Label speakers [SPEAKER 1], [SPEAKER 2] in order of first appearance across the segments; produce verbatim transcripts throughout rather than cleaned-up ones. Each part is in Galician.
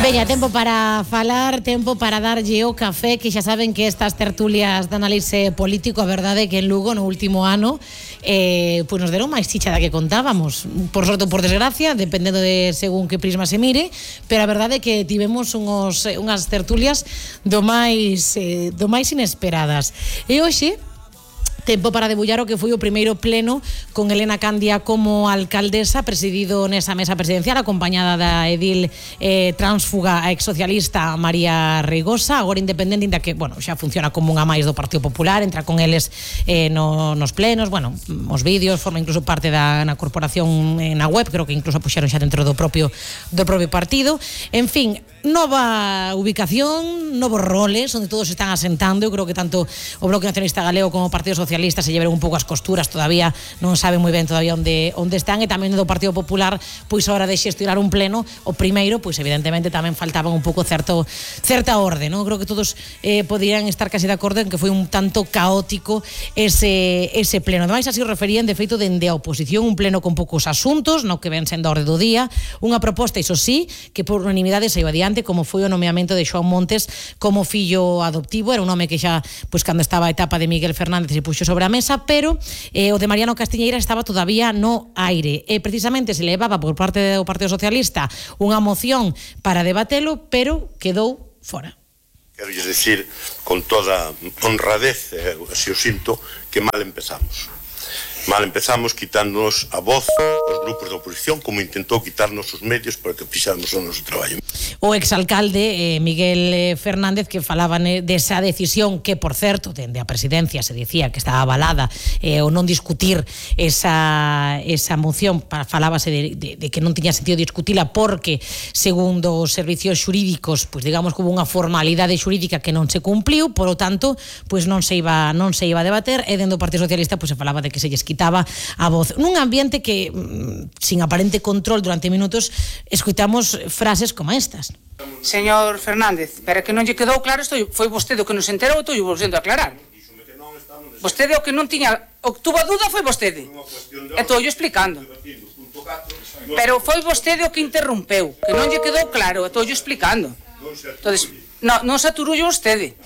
[SPEAKER 1] Veña, tempo para falar, tempo para darlle o café, que xa saben que estas tertulias de análise político, a verdade é que en Lugo no último ano eh, pues nos deron máis chicha da que contábamos, por sorte ou por desgracia, dependendo de según que prisma se mire, pero a verdade é que tivemos unhos, unhas tertulias do máis, eh, do máis inesperadas. E hoxe tempo para debullar o que foi o primeiro pleno con Elena Candia como alcaldesa, presidido nesa mesa presidencial acompañada da edil eh, transfuga a exsocialista María Reigosa, agora independente, inda que, bueno, xa funciona como unha máis do Partido Popular, entra con eles eh, no, nos plenos, bueno, os vídeos, forma incluso parte da na corporación eh, na web, creo que incluso puxeron xa dentro do propio do propio partido. En fin, nova ubicación, novos roles onde todos están asentando. Eu creo que tanto o Bloque Nacionalista Galego como o Partido Socialista se llevaron un pouco as costuras, todavía non saben moi ben todavía onde onde están, e tamén do Partido Popular, pois a hora de xestionar un pleno, o primeiro, pois evidentemente tamén faltaba un pouco certo certa orde, non? Creo que todos eh, podían estar casi de acordo en que foi un tanto caótico ese ese pleno. Ademais, así o referían de feito dende a oposición, un pleno con poucos asuntos, no que ven sendo a orde do día, unha proposta, iso sí, que por unanimidade saiu adiante, como foi o nomeamento de Xoán Montes como fillo adoptivo. Era un nome que xa, pois cando estaba a etapa de Miguel Fernández se puxo sobre a mesa, pero eh, o de Mariano Castiñeira estaba todavía no aire, e precisamente se levaba por parte do Partido Socialista unha moción para debatelo, pero quedou fora.
[SPEAKER 2] Quero dicir con toda honradez, eh, así o sinto, que mal empezamos. Mal empezamos quitándonos a voz os grupos da oposición, como intentou quitarnos os medios para que fixáramos o noso traballo.
[SPEAKER 1] O exalcalde eh, Miguel Fernández, que falaba desa decisión que, por certo, dende a presidencia se dicía que estaba avalada eh, o non discutir esa, esa moción, para, falábase de, de, de que non tiña sentido discutila porque, segundo os servicios xurídicos, pois digamos que hubo unha formalidade xurídica que non se cumpliu, por lo tanto, pois non se iba non se iba a debater, e dentro do Partido Socialista pois se falaba de que se lles quitaba a voz. Nun ambiente que, sin aparente control durante minutos, escuitamos frases como estas.
[SPEAKER 3] Señor Fernández, pero que non lle quedou claro, isto foi vostede o que nos enterou, estou volvendo a aclarar. Vostede o que non tiña, o que tuvo a dúda foi vostede. Estou yo explicando. Pero foi vostede o que interrompeu, que non lle quedou claro, estou yo explicando. Entonces, non, non se aturullo vostede.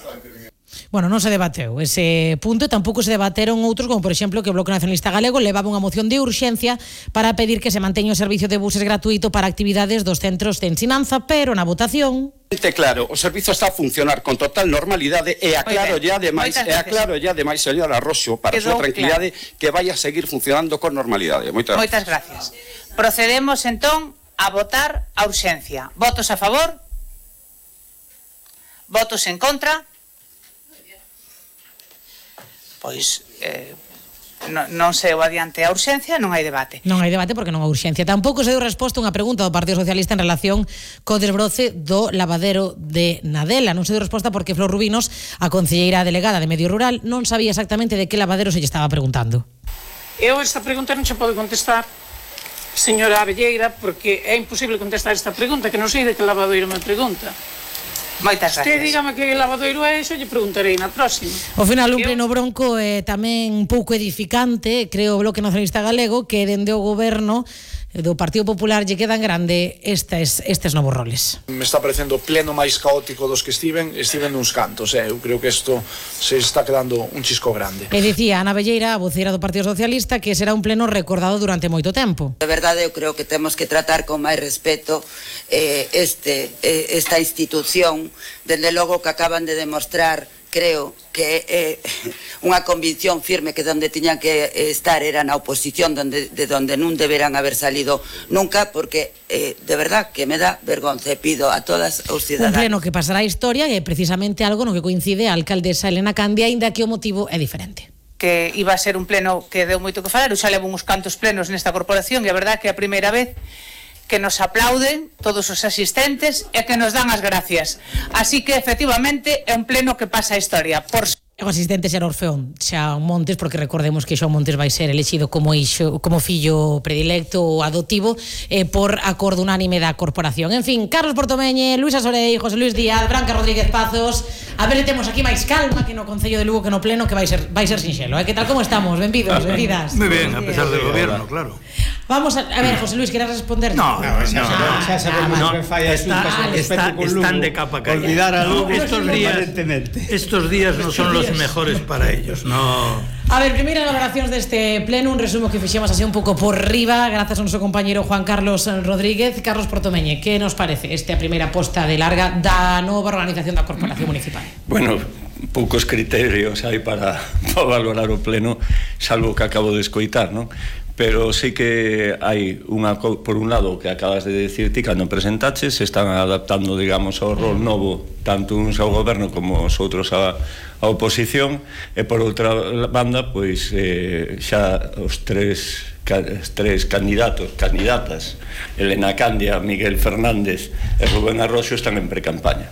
[SPEAKER 1] Bueno, non se debateu ese punto, e tampouco se debateron outros, como por exemplo que o Bloque Nacionalista Galego levaba unha moción de urxencia para pedir que se manteña o servicio de buses gratuito para actividades dos centros de ensinanza, pero na votación...
[SPEAKER 4] Claro, o servizo está a funcionar con total normalidade, e aclaro ya ademais, e aclaro ya ademais, señora Roxo, para a súa tranquilidade, claro, que vai a seguir funcionando con normalidade. Moitas,
[SPEAKER 3] Moitas gracias. Procedemos entón a votar a urxencia. Votos a favor? Votos en contra? Pois eh, non, non se o adiante a urxencia, non hai debate.
[SPEAKER 1] Non hai debate porque non hai urxencia. Tampouco se deu resposta a unha pregunta do Partido Socialista en relación co desbroce do lavadero de Nadela. Non se deu resposta porque Flor Rubinos, a concelleira delegada de Medio Rural, non sabía exactamente de que lavadero se lle estaba preguntando.
[SPEAKER 5] Eu esta pregunta non se pode contestar, señora Abelleira, porque é imposible contestar esta pregunta, que non sei de que lavadoiro me pregunta.
[SPEAKER 3] Moitas gracias.
[SPEAKER 5] Usted dígame que lavadoiro é iso, lle preguntarei na próxima.
[SPEAKER 1] Ao final, un pleno bronco é tamén un pouco edificante, creo o Bloque Nacionalista Galego, que dende o goberno do Partido Popular lle quedan grande estes, estes novos roles.
[SPEAKER 6] Me está parecendo o pleno máis caótico dos que estiven, estiven nuns cantos, eh? Eu creo que isto se está quedando un chisco grande.
[SPEAKER 1] E dicía Ana Velleira, a voceira do Partido Socialista, que será un pleno recordado durante moito tempo.
[SPEAKER 7] De verdade, eu creo que temos que tratar con máis respeto eh, este, eh, esta institución, dende logo que acaban de demostrar, creo que é eh, unha convicción firme que donde tiñan que estar era na oposición, donde, de donde non deberan haber salido nunca, porque eh, de verdad que me dá vergonza, e pido a todas os ciudadanos.
[SPEAKER 1] Un pleno que pasará a historia, e precisamente algo no que coincide a alcaldesa Elena Candia, ainda que o motivo é diferente.
[SPEAKER 3] Que iba a ser un pleno que deu moito que falar, eu xa levo uns cantos plenos nesta corporación, e a verdad que é a primeira vez que nos aplauden todos os asistentes e que nos dan as gracias. Así que, efectivamente, é un pleno que pasa a historia. Por...
[SPEAKER 1] O asistente será Orfeón Xoán Montes, porque recordemos que Xoán Montes vai ser elexido como, ixo, como fillo predilecto ou adoptivo eh, por acordo unánime da corporación. En fin, Carlos Portomeñe, Luisa Sorei, José Luis Díaz, Branca Rodríguez Pazos. A ver, temos aquí máis calma que no Concello de Lugo, que no pleno, que vai ser, vai ser sinxelo. Eh? Que tal, como estamos? Benvidos, benvidas.
[SPEAKER 8] Muy bien, a pesar del gobierno, claro.
[SPEAKER 1] Vamos a, a ver, José Luis, ¿quieres responder?
[SPEAKER 8] No, no, no,
[SPEAKER 9] xa sabemos
[SPEAKER 8] no,
[SPEAKER 9] que fai a
[SPEAKER 8] está,
[SPEAKER 9] Xunta
[SPEAKER 8] está, están de capa caída.
[SPEAKER 9] Olvidar a Lugo
[SPEAKER 8] estos días, estos días no son los mejores para ellos, no.
[SPEAKER 1] A ver, primeiras valoracións deste pleno, un resumo que fixemos así un pouco por riba, grazas ao noso compañeiro Juan Carlos Rodríguez. Carlos Portomeñe, que nos parece esta primeira posta de larga da nova organización da Corporación Municipal?
[SPEAKER 10] Bueno, poucos criterios hai para, para valorar o pleno, salvo que acabo de escoitar, non? Pero sí que hai unha, por un lado, que acabas de decir ti cando presentaches, se están adaptando, digamos, ao rol novo, tanto uns ao goberno como os outros á, á oposición, e por outra banda, pois eh, xa os tres os tres candidatos, candidatas, Elena Candia, Miguel Fernández e Rubén Arroxo, están en precampaña.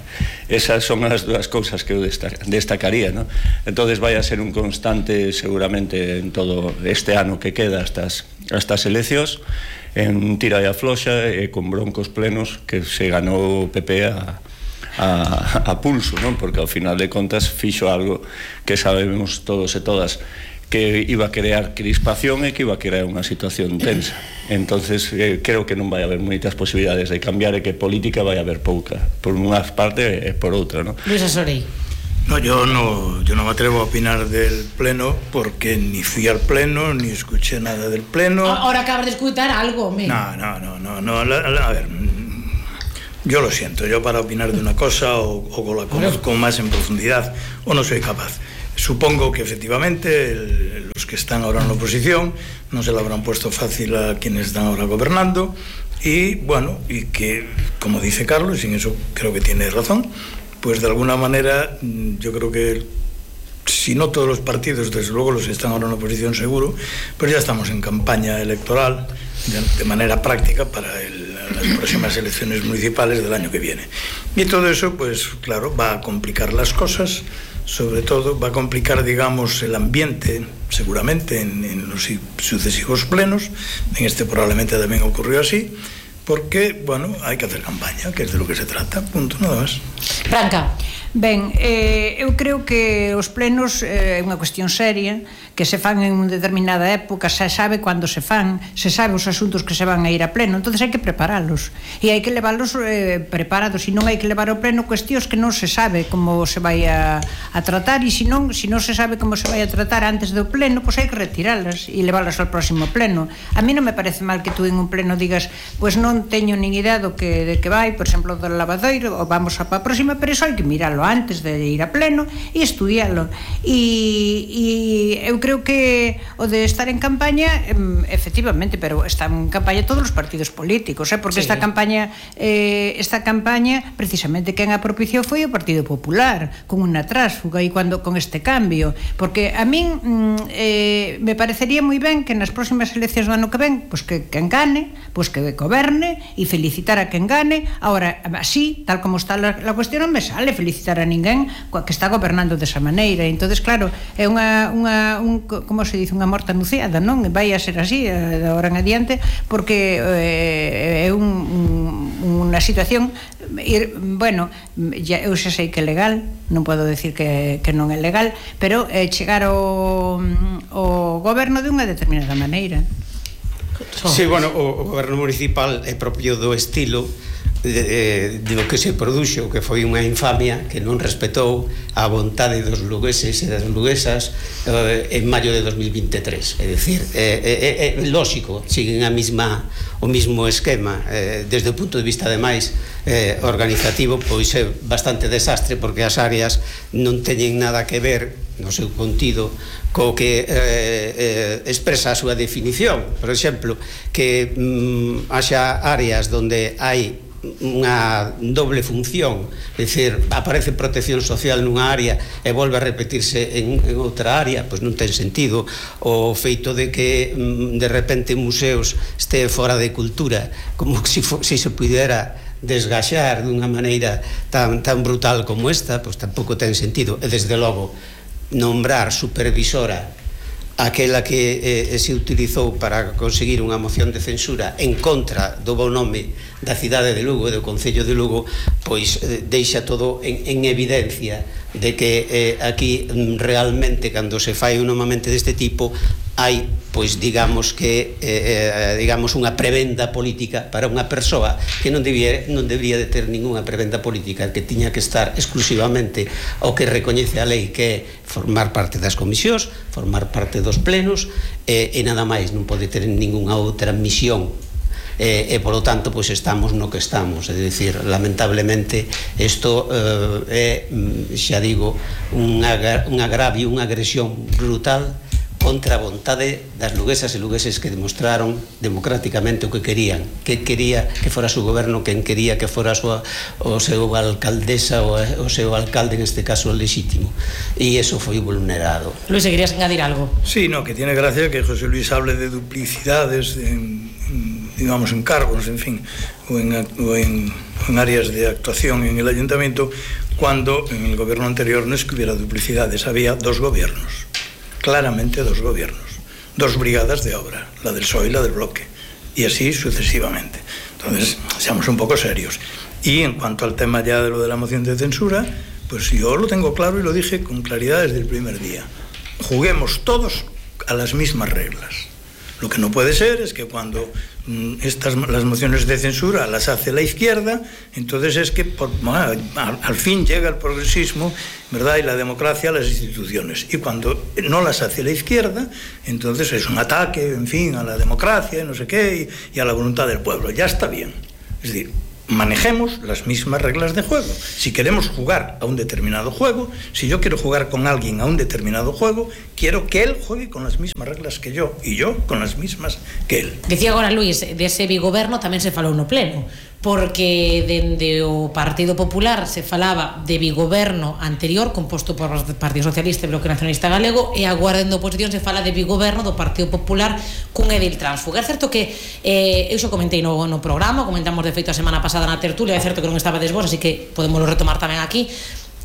[SPEAKER 10] Esas son as dúas cousas que eu destacaría, ¿no? Entonces vai a ser un constante seguramente en todo este ano que queda hasta as, hasta as eleccións, en tira e afloxa e con broncos plenos que se ganou o P P a A, a pulso, non? Porque ao final de contas fixo algo que sabemos todos e todas que iba a crear crispación e que iba a crear unha situación tensa. Entonces eh, creo que non vai haber moitas posibilidades de cambiar e que política vai haber pouca, por unha parte e por outra, non?
[SPEAKER 1] Luis Asorei.
[SPEAKER 8] No, yo no, yo no me atrevo a opinar del pleno porque ni fui al pleno ni escuché nada del pleno.
[SPEAKER 1] Ahora acabas de escuchar algo, me.
[SPEAKER 8] No, no, no, no, no, a, a ver. Yo lo siento, yo para opinar de una cosa o, o la conozco más en profundidad o no soy capaz. Supongo que efectivamente el, los que están ahora en la oposición no se lo habrán puesto fácil a quienes están ahora gobernando y bueno, y que como dice Carlos, y en eso creo que tiene razón, pues de alguna manera yo creo que si no todos los partidos, desde luego los que están ahora en la oposición seguro, pues ya estamos en campaña electoral de, de manera práctica para el las próximas elecciones municipales del año que viene. Y todo eso, pues claro, va a complicar las cosas, sobre todo va a complicar, digamos, el ambiente, seguramente, en, en los sucesivos plenos. En este probablemente también ocurrió así, porque, bueno, hay que hacer campaña, que es de lo que se trata, punto, nada más.
[SPEAKER 1] Branca.
[SPEAKER 5] Ben, eh, eu creo que os plenos é eh, unha cuestión seria, que se fan en unha determinada época, se sabe cando se fan, se sabe os asuntos que se van a ir a pleno, entonces hai que preparalos e hai que levarlos eh, preparados, e non hai que levar ao pleno cuestións que non se sabe como se vai a, a tratar, e se non, se non se sabe como se vai a tratar antes do pleno, pois hai que retiralas e leválas ao próximo pleno. A mí non me parece mal que tú en un pleno digas, pois non teño nin idea do que, de que vai, por exemplo, do lavadoiro, ou vamos a pa próxima, pero iso hai que miralo antes de ir a pleno e estudialo, e, e eu creo que o de estar en campaña efectivamente, pero están en campaña todos os partidos políticos, eh? Porque sí. esta campaña eh, esta campaña precisamente quen a propiciou foi o Partido Popular con unha trásfuga e cuando con este cambio, porque a min eh, me parecería moi ben que nas próximas eleccións do ano que ven, pois que quen gane, pois que goberne e felicitar a quen gane. Ahora, así, tal como está la, la cuestión, non me sale felicitar a ninguén que está gobernando desa maneira. Entonces, claro, é unha, unha un, como se dice, unha morta anunciada, non? Vai a ser así de agora en adiante, porque eh, é un, un, unha situación ir, bueno, ya, eu xa sei que é legal, non podo decir que, que non é legal, pero eh, chegar ao, ao goberno de unha determinada maneira.
[SPEAKER 9] Sí, bueno, o, o goberno municipal é propio do estilo de, de lo que se produxo, que foi unha infamia que non respetou a vontade dos lugueses e das luguesas eh, en maio de dos mil veintitrés. É dicir, é, é, é lógico, siguen a mesma, o mismo esquema, eh, desde o punto de vista ademais eh, organizativo, pois é bastante desastre, porque as áreas non teñen nada que ver no seu contido co que eh, eh, expresa a súa definición. Por exemplo, que mm, haxa áreas onde hai unha doble función, é dicir, aparece protección social nunha área e volve a repetirse en, en outra área, pois non ten sentido. O feito de que de repente museos este fora de cultura, como se si, si se pudera desgaxar dunha maneira tan, tan brutal como esta, pois tampouco ten sentido. E desde logo nombrar supervisora aquela que eh, se utilizou para conseguir unha moción de censura en contra do bo nome da cidade de Lugo e do Concello de Lugo, pois eh, deixa todo en, en evidencia de que eh, aquí realmente, cando se fai un nomamente deste tipo, hai, pois digamos que eh, digamos unha prebenda política para unha persoa que non debía, non debería de ter ninguna prebenda política, que tiña que estar exclusivamente ao que recoñece a lei, que é formar parte das comisións, formar parte dos plenos, e, e nada máis, non pode ter ninguna outra misión. E, e polo tanto, pois estamos no que estamos, é dicir, lamentablemente isto eh, é, xa digo, un, agra, un agravio, unha agresión brutal contra a vontade das luguesas e lugueses que demostraron democráticamente o que querían, que quería que fora su goberno, quen quería que fora a súa, o seu alcaldesa ou o seu alcalde, en este caso legítimo, e eso foi vulnerado.
[SPEAKER 1] Luis, ¿querías añadir algo?
[SPEAKER 8] Sí, no, que tiene gracia que José Luis hable de duplicidades en, en, digamos, en cargos, en fin, o en, o en, en áreas de actuación en el ayuntamiento, cuando en el gobierno anterior no es que hubiera duplicidades, había dos gobiernos, claramente dos gobiernos, dos brigadas de obra, la del P S O E y la del Bloque, y así sucesivamente. Entonces, seamos un poco serios. Y en cuanto al tema ya de lo de la moción de censura, pues yo lo tengo claro y lo dije con claridad desde el primer día. Juguemos todos a las mismas reglas. Lo que no puede ser es que cuando mm, estas, las mociones de censura las hace la izquierda, entonces es que por, bueno, al, al fin llega el progresismo, ¿verdad?, y la democracia a las instituciones. Y cuando no las hace la izquierda, entonces es un ataque, en fin, a la democracia y no sé qué, y, y a la voluntad del pueblo. Ya está bien. Es decir, manejemos las mismas reglas de juego. Si queremos jugar a un determinado juego, si yo quiero jugar con alguien a un determinado juego, quiero que él juegue con las mismas reglas que yo, y yo con las mismas que él.
[SPEAKER 1] Decía agora Luis, de ese bigoberno tamén se falou no pleno, porque dende o Partido Popular se falaba de bigoberno anterior composto por o Partido Socialista e Bloque Nacionalista Galego, e agora dende a oposición se fala de bigoberno do Partido Popular cun edil tránsfuga. É certo que eh, eu xo comentei no, no programa, comentamos de feito a semana pasada na tertulia, é certo que non estaba desvos, así que podemos retomar tamén aquí,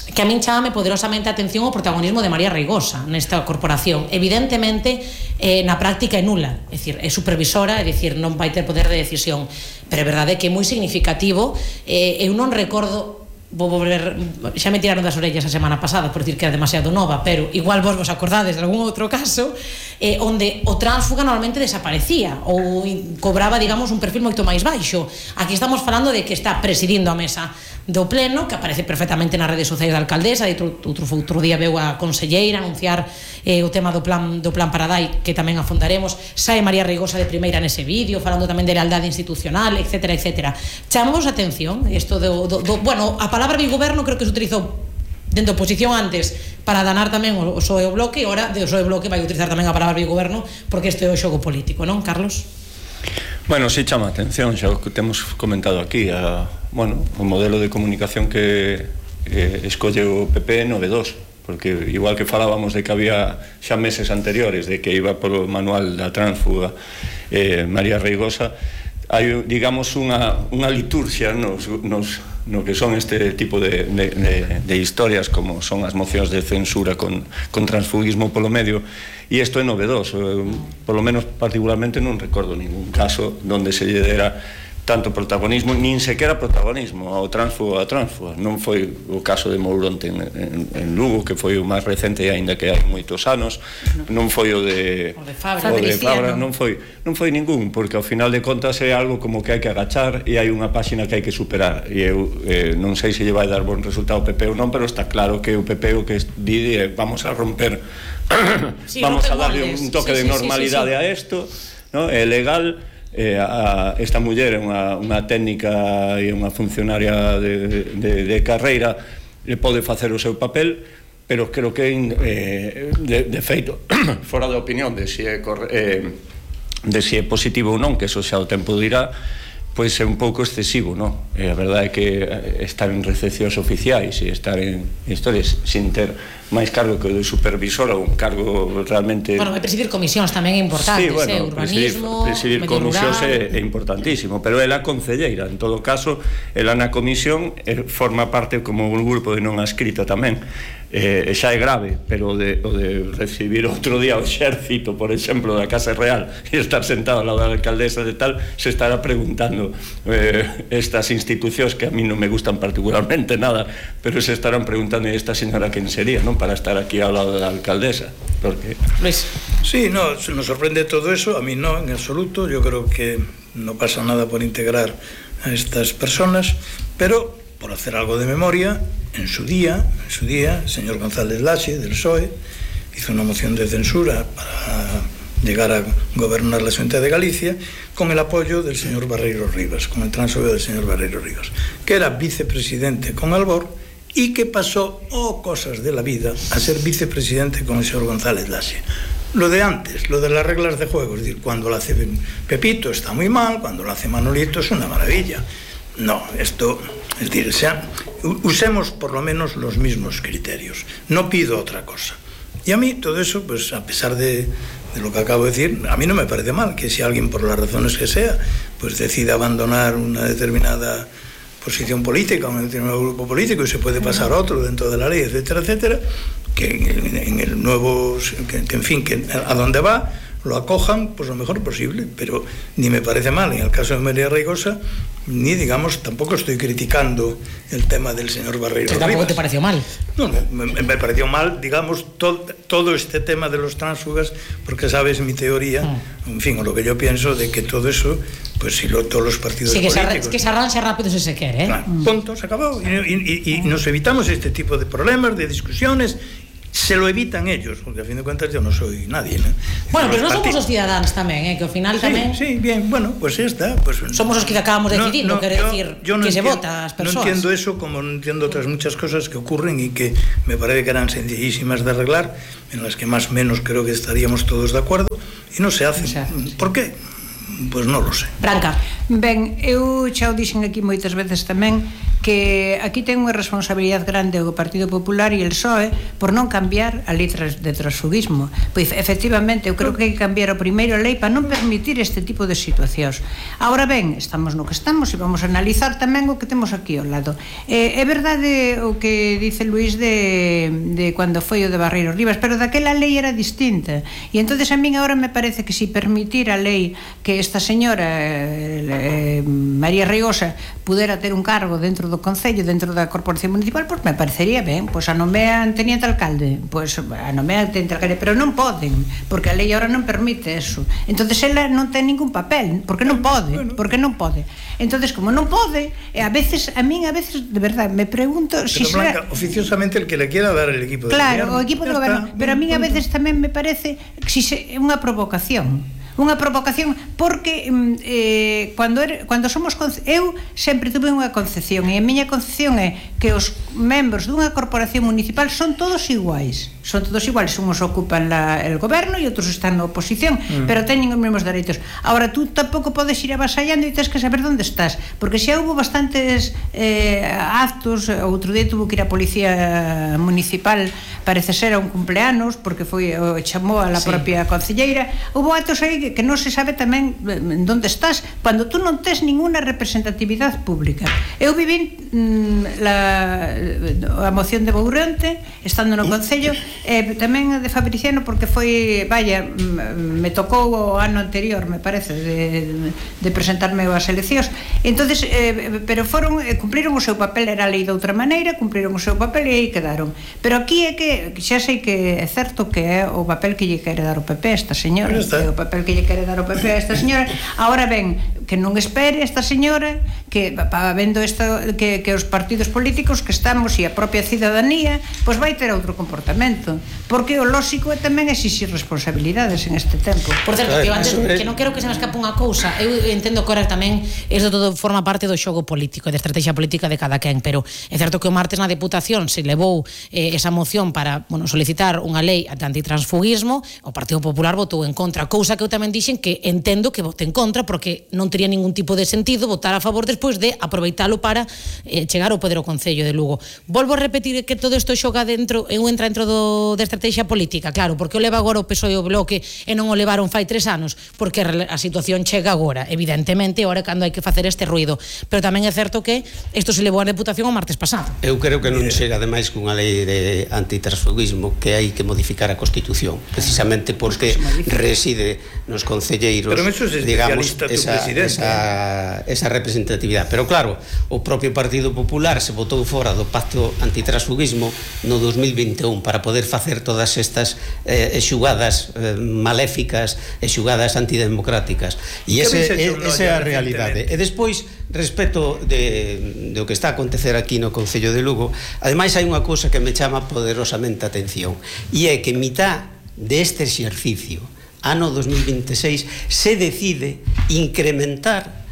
[SPEAKER 1] que a min chámame poderosamente a atención o protagonismo de María Reigosa nesta corporación. Evidentemente, eh, na práctica é nula, é dicir, é supervisora, é dicir, non vai ter poder de decisión, pero é verdade que é moi significativo. eh, eu non recordo, vou volver, xa me tiraron das orellas a semana pasada por dicir que era demasiado nova, pero igual vos vos acordades de algún outro caso, eh, onde o tránsfuga normalmente desaparecía ou cobraba, digamos, un perfil moito máis baixo. Aquí estamos falando de que está presidindo a mesa do pleno, que aparece perfectamente nas redes sociais da alcaldesa, e outro, outro, outro día veu a conselleira anunciar eh, o tema do plan, do plan Paradai, que tamén afondaremos. Sae María Reigosa de primeira nese vídeo, falando tamén de lealdade institucional, etcétera, etcétera. Chamamos a atención isto do, do, do, bueno, a palabra bigoberno creo que se utilizou dentro da oposición antes para danar tamén o P S O E o Bloque, e ora o P S O E o Bloque vai utilizar tamén a palabra bigoberno, porque este é o xogo político, non, Carlos?
[SPEAKER 10] Bueno, sí chama a atención, xa o que temos comentado aquí, a, bueno, o modelo de comunicación que eh, escolle o P P é novedoso, porque igual que falábamos de que había xa meses anteriores de que iba polo manual da tránsfuga eh, María Reigosa, hai, digamos, unha, unha liturgia nos, nos, no que son este tipo de, de, de, de historias, como son as mocións de censura con, con transfugismo polo medio, e isto é novedoso. Eu, polo menos particularmente non recordo ningún caso donde se lle dera tanto protagonismo, nin sequera protagonismo ao tránsfuga a tránsfuga. Non foi o caso de Mouronte en, en, en Lugo, que foi o máis recente, aínda que hai moitos anos, non foi o de
[SPEAKER 1] o de Fabra,
[SPEAKER 10] o de Fabra non foi, non foi ningún, porque ao final de contas é algo como que hai que agachar e hai unha páxina que hai que superar, e eu eh, non sei se lle vai dar bon resultado ao P P ou non, pero está claro que o P P o que di é vamos a romper sí, vamos a darle un toque sí, sí, de normalidade sí, sí, sí. a isto, ¿no? É legal. Eh, a, esta muller é unha, unha técnica e unha funcionaria de, de, de carreira, le pode facer o seu papel, pero creo que eh, de, de feito fora da opinión de se é, eh, de se é positivo ou non, que eso xa o tempo dirá, pois é un pouco excesivo, non? E a verdade é que estar en recepcións oficiais e estar en historias sin ter máis cargo que o de supervisor ou un cargo realmente...
[SPEAKER 1] Bueno, é presidir comisións tamén é importante,
[SPEAKER 10] sí, bueno,
[SPEAKER 1] eh, urbanismo,
[SPEAKER 10] presidir, presidir comisións é, é importantísimo, pero ela concelleira, en todo caso, ela na comisión eh, forma parte como un grupo de non adscrita tamén, eh, xa é grave, pero o de, o de recibir outro día o exército, por exemplo, da Casa Real, e estar sentado ao lado da alcaldesa de tal, se estará preguntando eh, estas institucións que a mí non me gustan particularmente nada, pero se estarán preguntando esta señora quen sería, non? Para estar aquí ao lado da alcaldesa, porque...
[SPEAKER 1] Luis.
[SPEAKER 8] Sí, no, nos sorprende todo eso, a mí no, en absoluto. Yo creo que no pasa nada por integrar a estas personas, pero por hacer algo de memoria, en su día, en su día, el señor González Laxe, del P S O E, hizo una moción de censura para llegar a gobernar la Xunta de Galicia con el apoyo del señor Barreiro Rivas, con el transfogue del señor Barreiro Rivas, que era vicepresidente con Albor y que pasó, oh cosas de la vida, a ser vicepresidente con el señor González Laxe. Lo de antes, lo de las reglas de juego, es decir, cuando lo hace Pepito está muy mal, cuando lo hace Manolito es una maravilla. No, esto, es decir, sea, usemos por lo menos los mismos criterios. No pido otra cosa. Y a mí todo eso, pues a pesar de, de lo que acabo de decir, a mí no me parece mal que si alguien, por las razones que sea, pues decida abandonar una determinada posición política, un determinado grupo político, y se puede pasar a otro dentro de la ley, etcétera, etcétera, que en, en el nuevo, que, que en fin, que a donde va lo acojan pues lo mejor posible, pero ni me parece mal en el caso de María Reigosa, ni digamos, tampoco estoy criticando el tema del señor Barreiro Rivas.
[SPEAKER 1] ¿Tampoco te pareció mal?
[SPEAKER 8] No, me, me pareció mal, digamos, to, todo este tema de los tránsfugas, porque sabes mi teoría, mm. en fin, o lo que yo pienso de que todo eso, pues si lo, todos los partidos
[SPEAKER 1] sí, que
[SPEAKER 8] políticos...
[SPEAKER 1] Se que se arranxa rápido si se quiere, ¿eh?
[SPEAKER 8] Claro, punto, se acabó. Y, y, y, y nos evitamos este tipo de problemas, de discusiones. Se lo evitan ellos, porque a fin de cuentas yo no soy nadie, ¿no?
[SPEAKER 1] Bueno, pero non somos os cidadáns tamén, eh, que ao final
[SPEAKER 8] sí,
[SPEAKER 1] tamén...
[SPEAKER 8] Sí, bien, bueno, pues ya está. Pues,
[SPEAKER 1] somos os que acabamos
[SPEAKER 8] no,
[SPEAKER 1] decidindo,
[SPEAKER 8] no,
[SPEAKER 1] quero
[SPEAKER 8] yo,
[SPEAKER 1] decir,
[SPEAKER 8] yo no
[SPEAKER 1] que
[SPEAKER 8] entiendo,
[SPEAKER 1] se vota as persoas.
[SPEAKER 8] No entiendo eso como no entiendo otras muchas cosas que ocurren y que me parece que eran sencillísimas de arreglar, en las que más o menos creo que estaríamos todos de acuerdo, y no se hacen. O sea, ¿por qué? Pois pues non lo sei.
[SPEAKER 1] Branca.
[SPEAKER 5] Ben, eu xa o dixen aquí moitas veces tamén que aquí ten unha responsabilidade grande o Partido Popular e el P S O E por non cambiar a lei de transfugismo. Pois efectivamente, eu creo que hai que cambiar o primeiro a lei para non permitir este tipo de situacións. Ahora ben, estamos no que estamos e vamos a analizar tamén o que temos aquí ao lado. Eh, é verdade o que dice Luís de, de cando foi o de Barreiro Rivas, pero daquela lei era distinta. E entonces a min agora me parece que si permitir a lei que esta señora eh, María Reigosa pudera ter un cargo dentro do Concello, dentro da Corporación Municipal, pois me parecería ben, pois a nomean teniente alcalde, pois a nomean teniente alcalde, pero non poden, porque a lei agora non permite eso. Entonces ela non ten ningún papel, porque non pode, porque non pode. Entonces como non pode, a veces a min a veces de verdad me pregunto
[SPEAKER 8] pero
[SPEAKER 5] si
[SPEAKER 8] Blanca,
[SPEAKER 5] será
[SPEAKER 8] oficialmente el que le quiera dar el equipo de
[SPEAKER 5] claro,
[SPEAKER 8] gobierno.
[SPEAKER 5] o equipo de gobierno, pero a min a veces tamén me parece que si é unha provocación. Unha provocación porque eh, cando, er, cando somos eu sempre tuve unha concepción e a miña concepción é que os membros dunha corporación municipal son todos iguais, son todos iguais, uns ocupan la, el goberno e outros están na oposición, mm. pero teñen os mesmos dereitos. Ahora tú tampouco podes ir avasallando e tens que saber onde estás, porque xa houve bastantes eh, actos, outro día tuvo que ir a policía municipal, parece ser a un cumpleanos, porque foi o chamou a la sí. propia concelleira, houve actos aí que que non se sabe tamén onde estás cando tú non tes ninguna representatividade pública. Eu viví mm, la, a moción de Bourente estando no Concello e tamén de Fabriciano porque foi, vaya, me tocou o ano anterior, me parece de, de presentarme ás eleccións. Entonces, eh, pero foron cumpriron o seu papel, era a lei de outra maneira, cumpriron o seu papel e aí quedaron. Pero aquí é que xa sei que é certo que é o papel que lle quere dar o P P esta señora, que é o papel que lle quere dar o P P a esta señora. Ahora ben, que non espere esta señora que pa, vendo isto, que, que os partidos políticos que estamos e a propia cidadanía pois vai ter outro comportamento, porque o lóxico é tamén exixir responsabilidades en este tempo.
[SPEAKER 1] Por certo, que, antes, que non quero que se me escape unha cousa, eu entendo que ahora tamén isto todo forma parte do xogo político, de estrategia política de cada quen, pero é certo que o martes na Deputación se levou eh, esa moción para, bueno, solicitar unha lei de antitransfugismo, o Partido Popular votou en contra, cousa que eu tamén dixen que entendo que vote en contra porque non tería ningún tipo de sentido votar a favor despois de aproveitalo para eh, chegar ao poder ao Concello de Lugo. Volvo a repetir que todo isto xoga dentro e entra dentro do, de estrategia política, claro, porque o leva agora o P S O E e o Bloque e non o levaron fai tres anos, porque a situación chega agora, evidentemente, agora cando hai que facer este ruido, pero tamén é certo que isto se levou á Deputación o martes pasado.
[SPEAKER 9] Eu creo que non chega ademais cunha lei de antitransfugismo, que hai que modificar a Constitución, precisamente porque reside nos concelleiros,
[SPEAKER 8] pero eso es
[SPEAKER 9] digamos,
[SPEAKER 8] especialista tu
[SPEAKER 9] esa,
[SPEAKER 8] presidente.
[SPEAKER 9] esa, esa representatividade. Pero claro, o propio Partido Popular se botou fora do pacto antitransfugismo no dos mil vinte e un para poder facer todas estas eh, xugadas eh, maléficas e xugadas antidemocráticas. E ese, esa é a realidade. E despois, respecto de, de o que está a acontecer aquí no Concello de Lugo, ademais hai unha cousa que me chama poderosamente a atención, e é que en mitad deste exercicio ano dos mil vinte e seis se decide incrementar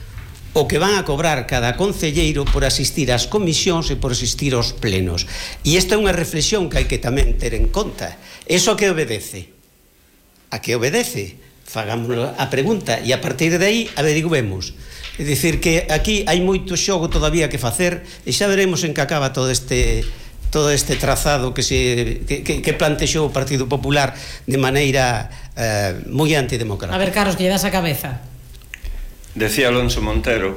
[SPEAKER 9] o que van a cobrar cada concelleiro por asistir ás comisións e por asistir aos plenos. E esta é unha reflexión que hai que tamén ter en conta. Eso que obedece? A que obedece? Fagámoslo a pregunta e a partir de aí averiguemos. É dicir que aquí hai moito xogo todavía que facer e xa veremos en que acaba todo este todo este trazado que se que, que, que plantexou o Partido Popular de maneira eh, moi antidemocrática.
[SPEAKER 1] A ver, Carlos, que lle das a cabeza.
[SPEAKER 10] Decía Alonso Montero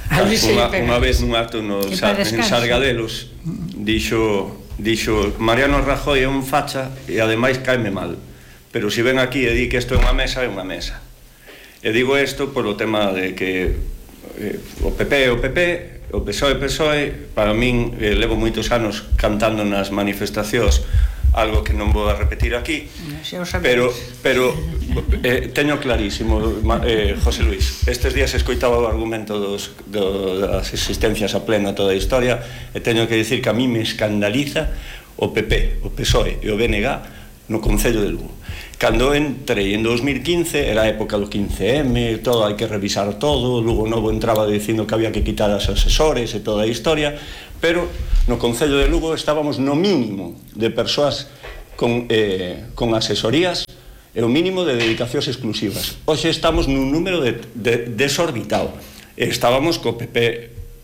[SPEAKER 10] unha, unha vez nun acto no, sa, en Sargadelos dixo, dixo Mariano Rajoy é un facha e ademais caime mal, pero se ven aquí e di que isto é unha mesa, é unha mesa. E digo isto polo tema de que eh, o P P é o P P, o P S O E, P S O E, para min eh, levo moitos anos cantando nas manifestacións algo que non vou a repetir aquí, pero pero eh, teño clarísimo, eh, José Luis, estes días escoitaba o argumento dos, do, das existencias a pleno toda a historia e teño que dicir que a mí me escandaliza o P P, o P S O E e o B N G no Concello de Lugo. Cando entrei en dos mil quince, era a época do quince eme, todo, hai que revisar todo, Lugo Novo entraba dicindo que había que quitar as asesores e toda a historia, pero no Concello de Lugo estábamos no mínimo de persoas con, eh, con asesorías e o mínimo de dedicacións exclusivas. Hoxe estamos nun número de, de, desorbitado. Estábamos co P P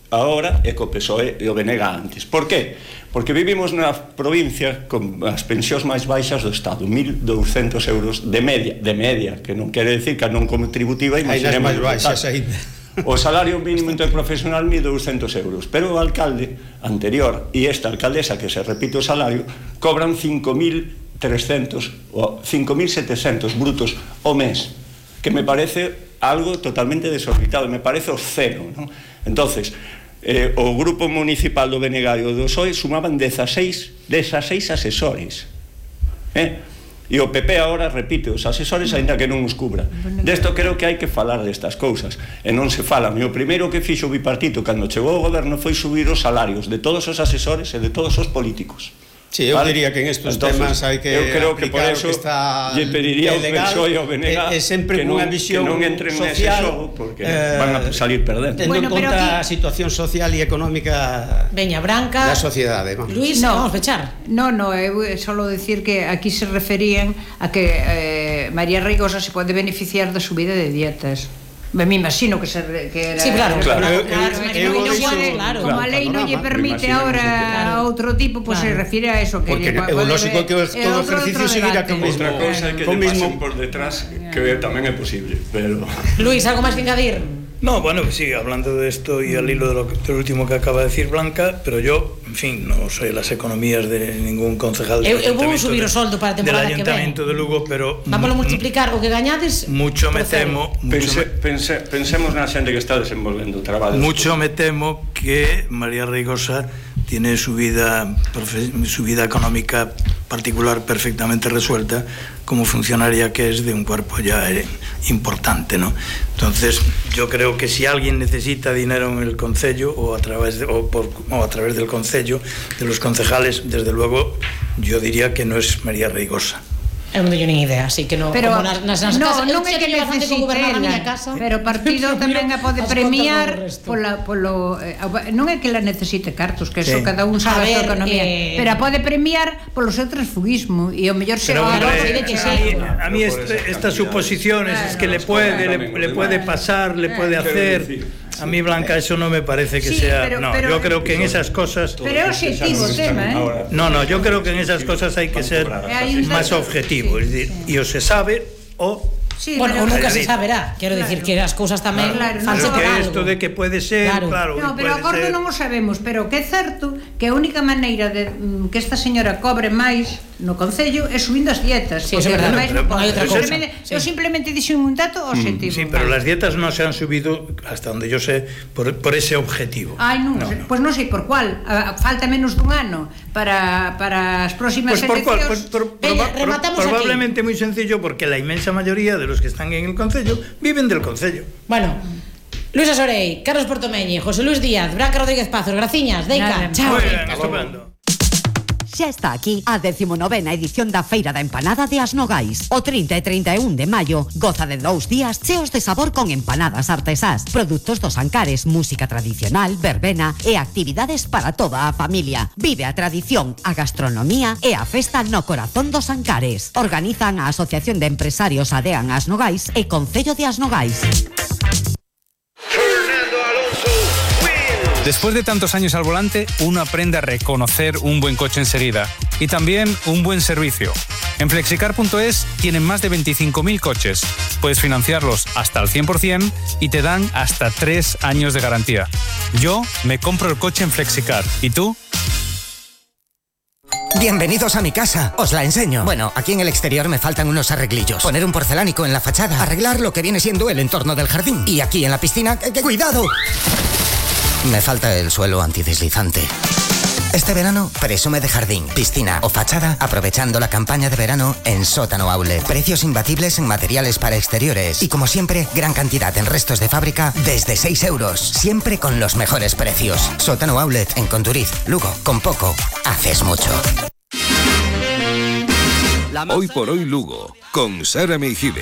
[SPEAKER 10] agora e co P S O E e o B N G antes. Por qué? Porque vivimos na provincia con as pensións máis baixas do Estado, mil douscentos euros de media, de media, que non quere decir que non contributiva, imaginemos
[SPEAKER 9] máis baixas ainda.
[SPEAKER 10] O salario mínimo interprofesional mil douscentos euros, pero o alcalde anterior e esta alcaldesa que se repite o salario cobran cinco mil trescentos ou cinco mil setecientos brutos ao mes, que me parece algo totalmente desorbitado, me parece obsceno, ¿no? Entonces, eh, o grupo municipal do B N G e o do P S O E sumaban dezasseis asesores, eh? E o P P agora repite os asesores aínda que non os cubra. Desto creo que hai que falar destas cousas e non se fala. E o primeiro que fixo o bipartito cando chegou ao goberno foi subir os salarios de todos os asesores e de todos os políticos.
[SPEAKER 9] Sí, eu ¿vale? diría que en estos Entonces, temas hai que
[SPEAKER 10] eu creo que por eso
[SPEAKER 9] que está
[SPEAKER 10] lle pediría ao P S O E e ao B N G
[SPEAKER 9] é, é sempre
[SPEAKER 10] que non,
[SPEAKER 9] unha visión
[SPEAKER 10] que non entren
[SPEAKER 9] social,
[SPEAKER 10] nese xogo porque eh, van a salir perdendo.
[SPEAKER 9] Tendo bueno, en conta aquí... a situación social e económica
[SPEAKER 1] Veña, Branca,
[SPEAKER 9] da sociedade. Vamos.
[SPEAKER 1] Luis, no, vamos a fechar.
[SPEAKER 5] No, no, eu solo decir que aquí se referían a que eh, María Reigosa se pode beneficiar da subida de dietas. Me imagino que, se, que era...
[SPEAKER 1] Sí, claro,
[SPEAKER 5] claro,
[SPEAKER 1] claro,
[SPEAKER 5] claro,
[SPEAKER 1] claro,
[SPEAKER 5] claro,
[SPEAKER 1] claro,
[SPEAKER 5] claro,
[SPEAKER 1] claro,
[SPEAKER 5] como a lei non lle permite ahora a outro tipo, pois pues claro. Se refire a eso que
[SPEAKER 9] porque é o lógico que todo ejercicio seguirá con mismo
[SPEAKER 10] outra cousa que lle pasen por detrás que tamén é posible, pero
[SPEAKER 1] Luis, algo máis que engadir?
[SPEAKER 8] No, bueno, sí, hablando de esto y al hilo de lo, de lo último que acaba de decir Blanca, pero yo, en fin, no soy las economías de ningún concejal del
[SPEAKER 1] eu, eu vou subir o soldo para a temporada que ven.
[SPEAKER 8] Del Ayuntamiento de Lugo, pero
[SPEAKER 1] vámoslo multiplicar o que gañades.
[SPEAKER 8] Mucho me temo,
[SPEAKER 10] pense, pense, pensemos na xente que está desenvolvendo traballo.
[SPEAKER 8] Mucho me temo que María Reigosa tiene su vida, su vida económica particular perfectamente resuelta como funcionaria que es de un cuerpo ya importante, ¿no? Entonces, yo creo que si alguien necesita dinero en el concello o a través de, o por, o a través del concello, de los concejales, desde luego, yo diría que no es María Reigosa.
[SPEAKER 1] Eu non teño nin idea, así que non,
[SPEAKER 5] pero,
[SPEAKER 1] como nas, nas, nas
[SPEAKER 5] no,
[SPEAKER 1] casas,
[SPEAKER 5] non é que necesite ela, casa, pero o partido tamén a pode premiar pola, polo, eh, non é que la necesite cartos, que sí. Eso cada un sabe a súa economía, eh, pero a pode premiar polo seu transfugismo e o mellor se
[SPEAKER 8] va
[SPEAKER 5] a
[SPEAKER 8] de que sí. A mí este, estas suposiciones es que le puede le, le puede pasar, le puede hacer. A mí, Blanca, eso no me parece que sí, sea... Pero, no, pero, yo creo que en esas cosas...
[SPEAKER 5] Pero es objetivo el tema, ¿eh?
[SPEAKER 8] No, no, yo creo que en esas cosas hay que ser más objetivo. Es decir, y o se sabe o...
[SPEAKER 1] Sí, bueno, o nunca se saberá. Quero claro. Decir que as cousas tamén claro,
[SPEAKER 8] fanse por algo. Esto de que pode ser, claro, claro
[SPEAKER 5] no, pero agora non o sabemos, pero que é certo que a única maneira de que esta señora cobre máis no Concello e subindo as dietas.
[SPEAKER 1] Sí, é verdade,
[SPEAKER 5] pero,
[SPEAKER 1] pero, pero,
[SPEAKER 5] pero,
[SPEAKER 1] pero,
[SPEAKER 5] eu simplemente dixen un dato objetivo.
[SPEAKER 8] Sí, pero las dietas no se han subido, hasta donde yo sé, por, por ese objetivo.
[SPEAKER 5] Ai, non, no, no. Pois non sei por cual. Falta menos dun ano para, para as próximas
[SPEAKER 8] pues por
[SPEAKER 5] eleccións.
[SPEAKER 8] Cual, pues por, Venga, proba, pro, probablemente moi sencillo, porque la inmensa mayoría de los que están en el Concello viven del Concello.
[SPEAKER 1] Bueno, Luisa Sorey, Carlos Portomeñi, José Luis Díaz, Branca Rodríguez Pazos, graciñas, Deica, chao.
[SPEAKER 8] Muy bien, estupendo.
[SPEAKER 11] Xa está aquí a decimonovena edición da Feira da Empanada de As Nogais. O trinta e trinta e un de maio goza de dous días cheos de sabor con empanadas artesás, produtos dos Ancares, música tradicional, verbena e actividades para toda a familia. Vive a tradición, a gastronomía e a festa no corazón dos Ancares. Organizan a Asociación de Empresarios Adean As Nogais e Concello de As Nogais.
[SPEAKER 12] Después de tantos años al volante, uno aprende a reconocer un buen coche enseguida y también un buen servicio. En flexicar punto es tienen más de veinticinco mil coches. Puedes financiarlos hasta el cien por ciento y te dan hasta tres años de garantía. Yo me compro el coche en Flexicar. ¿Y tú?
[SPEAKER 13] Bienvenidos a mi casa, os la enseño. Bueno, aquí en el exterior me faltan unos arreglillos. Poner un porcelánico en la fachada, arreglar lo que viene siendo el entorno del jardín. Y aquí en la piscina, ¡que, que cuidado! Me falta el suelo antideslizante. Este verano, presume de jardín, piscina o fachada aprovechando la campaña de verano en Sótano Outlet. Precios imbatibles en materiales para exteriores. Y como siempre, gran cantidad en restos de fábrica desde seis euros. Siempre con los mejores precios. Sótano Outlet en Conturiz, Lugo. Con poco, haces mucho.
[SPEAKER 14] Hoy por hoy Lugo, con Sara Meijibe.